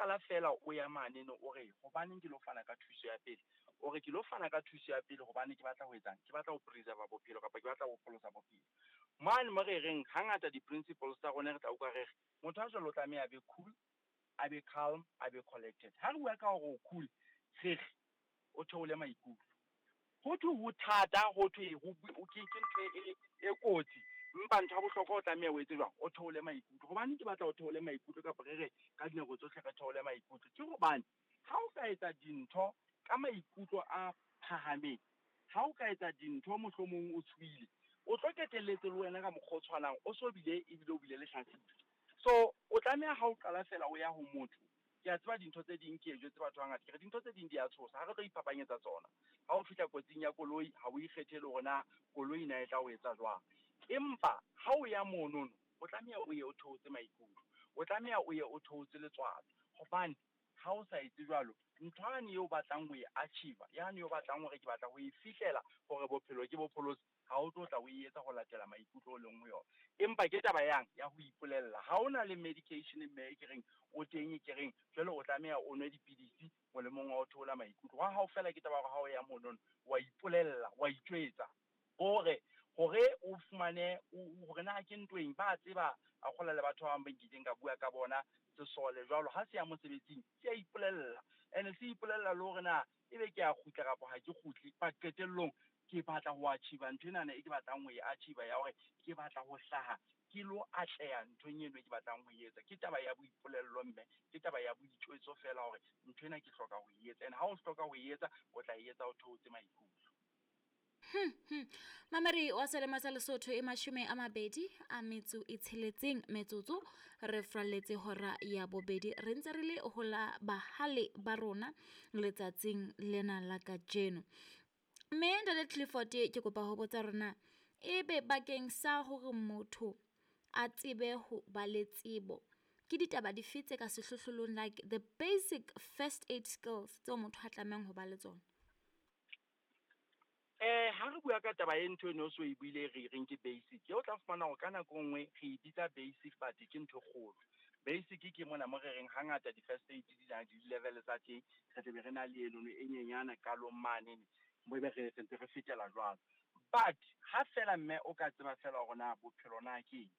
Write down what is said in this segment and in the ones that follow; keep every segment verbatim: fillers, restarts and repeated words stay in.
qala fela o ya mane no o re hobaneng ke lo fana ka thuso ya pele, o re ke lo fana ka thuso ya pele hobane ke batla ho etsang, ke batla ho preserve bophelo kapa ke batla ho pholosa bophelo. Mane mo re reng hangata di-principles tsa rona re tla utlwa re re motho a jwalo o tlameha a be cool, a be calm, a be collected. Ha re bua ka hore o cool, re re o theole maikutlo. Ho thwe ho thata, ho thwe ke ke ntho e e kotsi, empa ntho ya bohlokwa o tlameha o etse jwang, o theole maikutlo. Hobane ke batla o theole maikutlo kapa re re ka dinako tsohle re theole maikutlo, ke hobane ha o ka etsa dintho ka maikutlo a phahameng, ha o ka etsa dintho mohlomong o tshohile, o tlo qetelletse le wena ka mokgwa o tshwanang o so bile ebile o bile lehlatsipa. So o tlameha ha o qala fela o ya ho motho, ke a tseba dintho tse ding ke e jwetse batho hangata, ke re dintho tse ding di a tshosa, ha re tlo iphapanyetsa tsona. Ha o fihla kotsing ya koloi, ha o ikgethele hore na koloi na e tla o etsa jwang. Empa ha o ya monono, o tlameha o ye o theotse maikutlo, o tlameha o ye o theotse letswalo, hobane ha o sa etse jwalo, ntho yane eo o batlang ho e achieve, yane eo o batlang hore ke batla ho e fihlela hore bophelo ke bo pholose, ha o tlo tla o etsa ho latela maikutlo o leng ho yona. Empa ke taba yang ya ho ipolella. Ha o na le medication mme e ke reng o teng e ke reng jwale o tlameha o nwe dipidisi molemong wa ho theola maikutlo. Wa hao fela ke taba ya hore ha o ya monono wa ipolella, wa itjwetsa hore hore o fumane hore na ke ntweng ba tseba a kgola le batho ba bang ba nkileng ka bua ka bona sesole jwalo ha se ya mosebetsing se a ipolella, ene se ipolella le hore na ebe ke a kgutla kapa ha ke kgutle, but qetellong ke batla ho achieve ntho enana e ke batlang ho e achieve ya hore ke batla ho hlaha ke lo atleha nthong eno e ke batlang ho e etsa. Ke taba ya boipolello mme ke taba ya boitjwetso fela hore ntho ena ke hloka ho e etsa, and ha o hloka ho e etsa o tla e etsa o theotse maikutlo. Hmm, hmm. Mameri wa selemo sa Lesotho e mashome a mabedi a metso e tsheletseng metsotso re fralletse hora ya bobedi, re ntse re le ho la bahale ba rona letsatsing lena la kajeno. Mme Ntate Clifford, ke kopa ho botsa rona ebe bakeng sa hore motho a tsebe ho ba le tsebo, ke ditaba dife tse ka sehlohlolong, like the basic first aid skills tseo motho a tlamehang ho ba le tsona? Eh ha re bua ka taba e ntho eno o so e buile re reng ke basic, o tla fumana hore ka nako e nngwe re e bitsa basic but ke ntho e kgolo. Basic ke mona mo re reng hangata di-first aid di na le di-level tsa teng, re tle be re na le enono e nyenyana qalong mane mo ebe re ntse re fetela jwalo. But ha fela mme o ka tseba fela hore na bophelo na ke eng,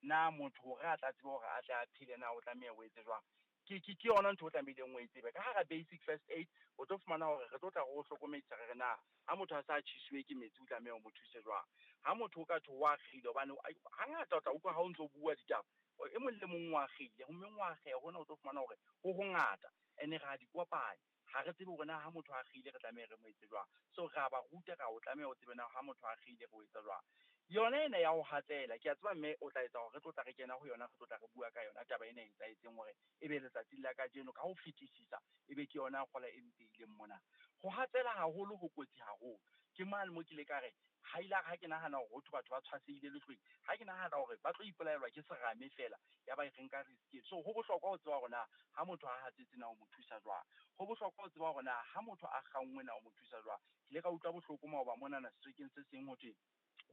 na motho hore a tla tsebe hore a tle a phele na o tlameha o etse jwang, ke ke ke yona ntho o tlamehileng o e tsebe. Ka hara basic first aid o tlo fumana hore re tlo tla re o hlokomedisa re re na ha motho a sa tjhisuwe ke metsi o tlameha o mo thuse jwang, ha motho o ka thwe o akgile, hobane hangata o tla utlwa ha o ntso bua ditaba e mong le mong o akgile, ho mmeng o akgeha hona o tlo fumana hore ho hongata ene re a di kopanya, ha re tsebe hore na ha motho a akgile re tlameha re mo etse jwang. So re a ba ruta ka o tlameha o tsebe na ha motho a akgile re o etsa jwang. Yona ena ya ho hatsela, ke a tseba mme o tla etsa hore re tlo tla re kena ho yona, re tlo tla re bua ka yona taba ena e etsahetseng hore ebe letsatsing la kajeno ka ho fetisisa ebe ke yona kgola e mpehileng mona. Ho hatsela haholo ho kotsi haholo. Ke mane mo ke ile ka re ha ile ha ke nahana hore ho thwe batho ba tshwasehile lehlweng, ha ke nahana hore ba tlo ipolaelwa ke serame fela ya ba e re nka risk. So ho bohlokwa ho tseba hore na ha motho a hatsetse na o mo thusa jwang, ho bohlokwa ho tseba hore na ha motho a kganngwe na o mo thusa jwang. Ke ile ka utlwa bohloko maoba monana sehlekeng se seng ho thwe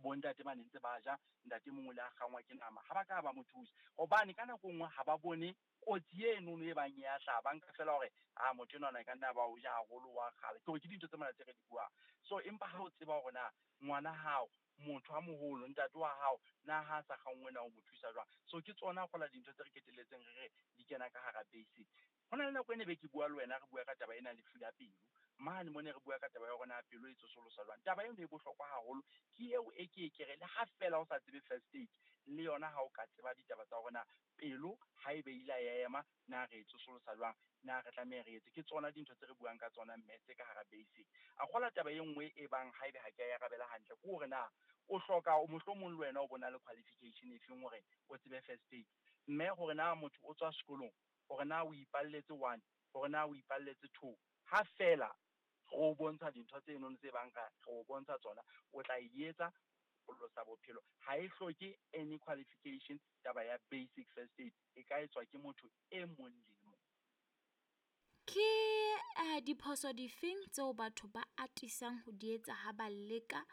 bontate ba ne ntse ba ja, ntate mongwe le a kgangwa ke nama, ha ba ka ba mo thusa hobane ka nako e nngwe ha ba bone kotsi eno e bang ya hlaha, ba nka fela hore a motho enwa e ka nna ba o ja haholo wa kgale. Ke hore ke dintho tse mona tse re di buang. So empa ha o tseba hore na ngwana hao, motho a moholo, ntate wa hao, na ha sa kganngwe na o mo thusa jwang. So ke tsona kgola dintho tse re keteletseng re re di kena ka hara basic. Ho na le nako e ne be ke bua le wena re bua ka taba ena lefu la pelo, mane mo ne re bua ka taba ya hore na pelo e tsosolosa jwang. Taba eno e bohlokwa haholo, ke eo e ke e ke re le ha fela o sa tsebe first aid le yona ha o ka tseba ditaba tsa hore na pelo ha ebe ile ya ema na re e tsosolosa jwang, na re tlameha re etse. Ke tsona dintho tse re buang ka tsona mme tse ka hara basic. A kgola taba e nngwe e bang ha ebe ha ke a e arabela hantle ke hore na o hloka o mohlomong le wena o bona le qualification e feng hore o tsebe first aid, mme hore na motho o tswa sekolong, hore na o ipalletse one, hore na o ipalletse two, ha fela re o bontsha dintho tse enono tse bang re o bontsha tsona, o tla e etsa pholosa bophelo. Ha e hloke any qualification taba ya basic first aid e ka etswa ke motho e mong le mong. Ke eh diphoso difeng tseo batho ba atisang ho di etsa ha ba leka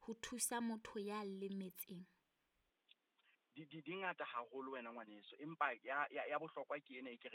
ho thusa motho ya lemetseng? Di di di ngata haholo wena ngwaneso, empa ya ya ya bohlokwa ke ena e ke